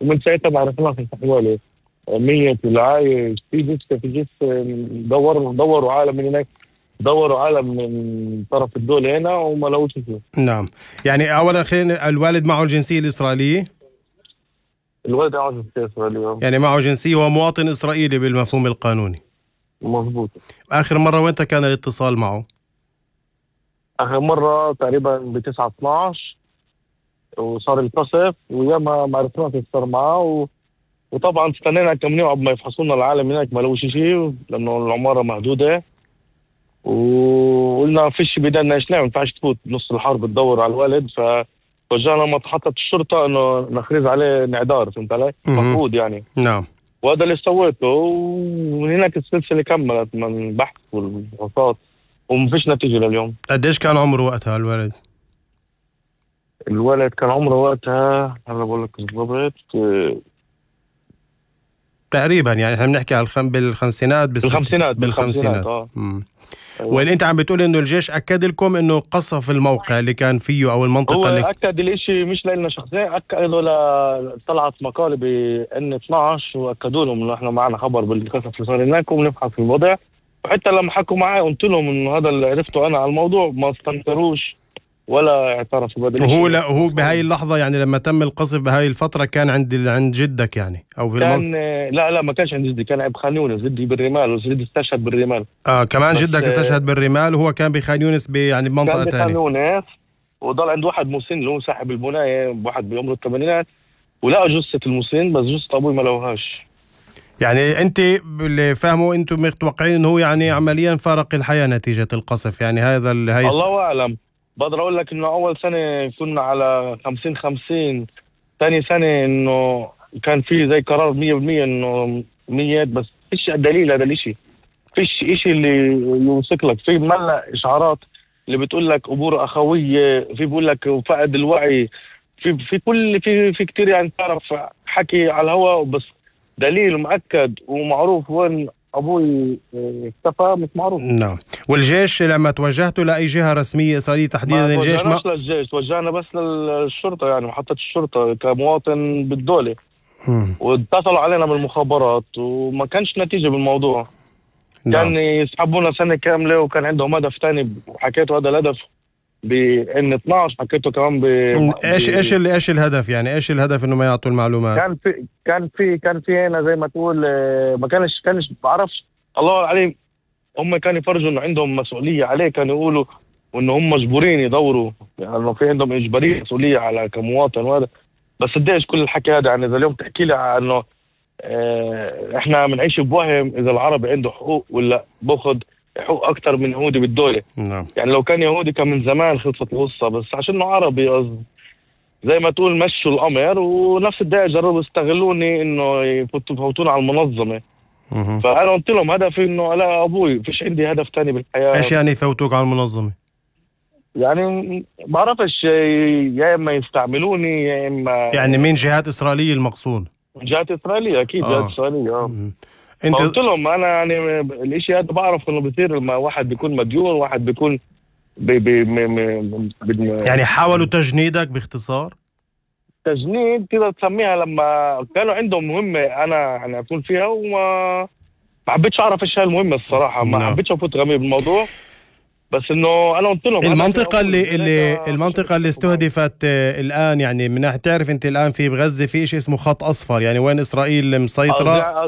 ومن ساعتها ما عرفناش حوالي 100 والعايش في جثة دوروا عالم من هناك، دوروا عالم من طرف الدولة هنا وما لقوش شيء. نعم. يعني أولا خلينا، الوالد معه الجنسية الإسرائيلية؟ الولد معه جنسية إسرائيلية. يعني معه جنسية، هو مواطن إسرائيلي بالمفهوم القانوني. مظبوط. آخر مرة وين كان الاتصال معه؟ آخر مرة تقريبا ب9/12 وصار القصف، وياما ما عرفناش ايش صار معه وطبعا استنينا كم يوم قبل ما يفحصوا لنا العالم هناك، ما لقوش شيء لأنه العمارة مهدودة. وقلنا فيش بدنا ايش نعمل، ما ينفعش تفوت بنص الحرب تدور على الولد، فوجهنا محطة الشرطة انه نخرج عليه انعدار، فهمت علي؟ مفروض يعني. نعم. وهذا اللي سويته، ومن هناك السلسلة كملت من البحث والفحوصات ومفيش نتيجة لليوم. قديش كان عمره وقتها الولد؟ الولد كان عمره وقتها، هلا بقول لك بالضبط، تقريبا يعني احنا بنحكي على بالخمسينات. بالخمسينات. واللي انت عم بتقول انه الجيش اكد لكم انه قصف الموقع اللي كان فيه او المنطقه هو اللي اكد الاشي مش لنا شخصيا، اكدوا طلعت مقاله بN12 واكدوا لهم انه احنا معنا خبر بالقصف اللي صار هناك وبنبحث في الوضع. وحتى لما حكوا معي قلت لهم انه هذا اللي عرفته انا على الموضوع، ما استنكروش ولا اعترفوا بهذا الشيء. هو بهاي اللحظه يعني لما تم القصف بهاي الفتره كان عند جدك يعني او في كان لا ما كانش عند جدي، كان بخان يونس، جدي بالرمال وجدي استشهد بالرمال. كمان جدك استشهد بالرمال وهو كان بخان يونس يعني بمنطقه ثانيه. كان بخان يونس وضل عند واحد مسن اللي هو صاحب البنايه، واحد بعمره الثمانينات، ولقى جثه المسن بس جثه ابوي ما لقوهاش. يعني انت اللي فاهمه انتم متوقعين انه هو يعني عمليا فارق الحياه نتيجه القصف، يعني هذا الله اعلم. بقدر اقول لك انه اول سنه كنا على 50-50، ثاني سنه انه كان في زي قرار 100% انه 100، بس فيش دليل هذا الاشي، فيش اشي اللي يوثق لك. في ملأ اشعارات اللي بتقول لك امور اخويه، في بقول لك فقد الوعي، في كتير يعني تعرف حكي على الهواء، بس دليل مؤكد ومعروف وين ابوي اختفى مش معروف. نعم. والجيش لما توجهتوا لاي جهه رسميه اسرائيليه تحديدا الجيش ما للجيش، توجهنا بس للشرطه، يعني محطه الشرطه كمواطن بالدوله. واتصلوا علينا بالمخابرات وما كانش نتيجه بالموضوع. نعم. كان يسحبونا سنه كامله وكان عندهم هدف ثاني، وحكيته هذا الهدف بN12، حكيته كمان ايش الهدف؟ يعني ايش الهدف انه ما يعطوا المعلومات؟ كان في هنا زي ما تقول ما كانش بعرفش الله عليه، هم كانوا يفرجوا انه عندهم مسؤوليه عليه، كانوا يقولوا وانه هم مجبورين يدوروا، يعني انه في عندهم اجباريه مسؤوليه على كمواطن وهذا. بس قديش كل الحكي هذا؟ يعني اذا اليوم تحكي لي انه احنا بنعيش بوهم اذا العربي عنده حقوق ولا باخذ حقوق اكثر من يهودي بالدوله. نعم. يعني لو كان يهودي كان من زمان خلصت القصه، بس عشان عربي زي ما تقول مشوا الامر، ونفس الدقيقه جربوا يستغلوني انه يفوتون على المنظمه. فانا قلت لهم هدفي انه لا ابوي فيش عندي هدف ثاني بالحياه. ايش يعني يفوتوك على المنظمه؟ يعني بعرفش، يا اما يستعملوني يا اما يعني من جهات اسرائيليه المقصود؟ جهات اسرائيليه اكيد. جهات اسرائيليه. انت قلت لهم انا يعني الاشي هذا بعرف انه بصير لما واحد بيكون مديون، واحد بيكون يعني حاولوا تجنيدك باختصار؟ تجنيد كده تسميها، لما كانوا عندهم مهمة أنا يعني أكون فيها وما حبيتش أعرف إيش هالمهمة الصراحة. ما حبيتش أفوت غمي بالموضوع، بس إنه أنا قلت لهم المنطقة اللي استهدفت الآن، يعني من ناحية تعرف أنت الآن في بغزة في شيء اسمه خط أصفر، يعني وين إسرائيل مسيطرة.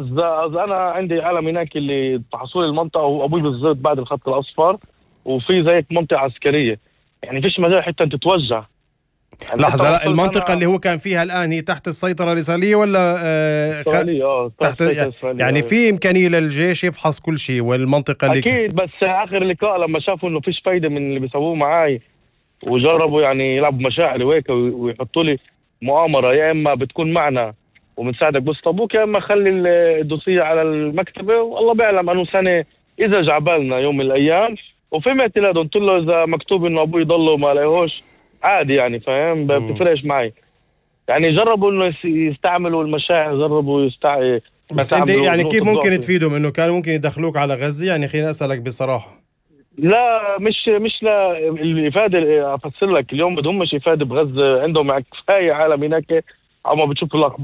أنا عندي علم هناك اللي تحصل المنطقة وأبوي بالضبط بعد الخط الأصفر، وفي زيك منطقة عسكرية، يعني فيش مجال حتى تتوجه. يعني لحظة، المنطقة اللي هو كان فيها الآن هي تحت السيطرة الإسرائيلية ولا إسرائيلية؟ تحت يعني في إمكانية للجيش يفحص كل شيء والمنطقة اللي أكيد. بس آخر لقاء لما شافوا إنه فيش فايدة من اللي بيسووه معاي، وجربوا يعني يلعبوا مشاعري وهيك ويحطوا لي مؤامرة، يا إما بتكون معنا وبنساعدك بس أبوك، يا إما خلي الدوسية على المكتبة والله بيعلم أنه سنة إذا جعبالنا يوم من الأيام. وفهمت له قلت له إذا مكتوب إنه أبوي ضله ما لاقيهوش عادي، يعني فاهم، بتفرقش معي. يعني جربوا انه يستعملوا المشاعر، جربوا بس انت يعني كيف ممكن تفيدهم؟ انه كانوا ممكن يدخلوك على غزة؟ يعني خليني اسالك بصراحة. لا مش لا الافادة، افسر لك اليوم بدهم مش افادة بغزة، عندهم كفاية عالم هناك عم بتشوف الاخبار.